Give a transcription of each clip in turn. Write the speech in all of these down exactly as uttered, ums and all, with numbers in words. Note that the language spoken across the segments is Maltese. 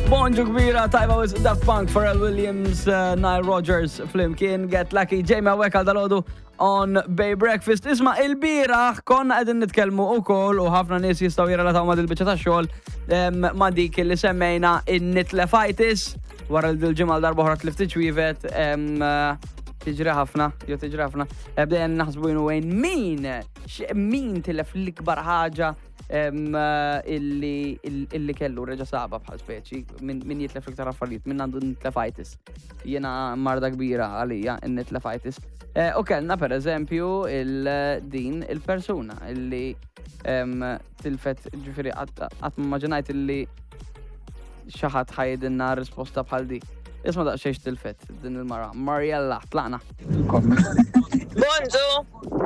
Bonġu kbira, tajba with Daft Punk, Pharrell Williams, uh, Nile Rodgers, flimkien, Get Lucky, Jamie hawnhekk għal dalgħodu on Bay Breakfast. Isma, il-bieraħ konna qegħdin nitkellmu ukoll u ħafna nies jistgħu jirrelataw ma' dil-biċċa ta' xogħol em, ma' dik li semmejna in-nitlefitis wara li dil-ġimgħa darba oħra tlift ċwievet em, eh, tiġri ħafna, jew tiġri ħafna. Eh, Bdejna naħsbu jenu wejn min, x- min tilef l-ikbar ħaġa em, eh, illi illi kellu reġa saba bħal speċi, min min jitlef iktar affarijiet, min għandu nitlefitis. Jiena marda kbira għalija n-nitlefitis. Eh, U kellna per eżempju il-din il-persuna illi em, tilfet ġifieri qatt ma immaġinajt illi xi ħadd ħa jgħidilna risposta bħal di. Isma daqsxejn tilfet din il-mara. Mariella, tlaqna. Bonġu,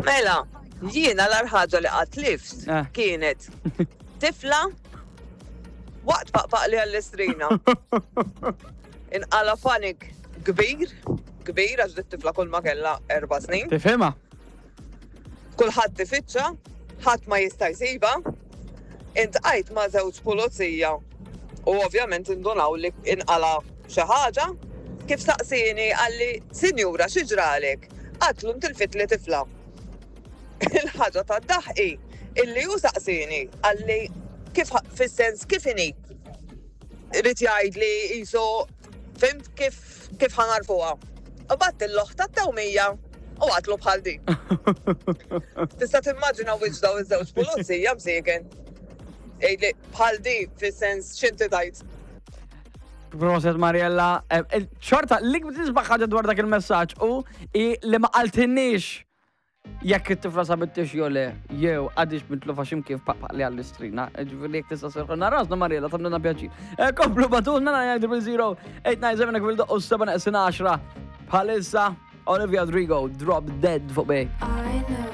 mela, jiena l-agħar ħaġa li qatt tlift Eh. kienet tifla waqt paqpaqli għall-istrina. Inqala panik kbir, kbir, għax dit tifla kull ma kella erba snin. Tifhimha? Kulħadd ifittxa, ħadd ma jista' jsibha. Iltqajt ma' żewġ pulizija u ovvjament indunaw li inqala xi ħaġa. Kif saqsini qalli, "Sinjura, xi ġralek?" Għedtlu ntilfitli tifla. Il-ħaġa ta' daħqi illi hu saqsini qalli kif fis-sens kif inhi. Irid jgħid li jisu fhimt kif kif ħa nagħrfuha. U bgħatt l-oħt tat-tewmija u għedtlu bħal di. Tista' timmaġina wiċċ daw iż-żewġ pulizija msieken. Jgħidli bħal di fis-sens x'inti tajt. Proset Mariella. Eh, eh, Xorta, l-isbaħ ħaġa dwar dak il-messaġġ u i li ma qaltinniex jekk it-tifla sabitix jew le, jew għadix mitlufa x'imkien paqpaq li għall-istrina. Ġifieri jekk tista' sserrħilna rasna Mariella tagħmlilna pjaċir. Eh, Komplu ibagħtulna nine zero eight nine seven fil-doqqu seba neqsin għaxra. Bħalissa Olivia Rodrigo, Drop Dead fuq Bay. I know.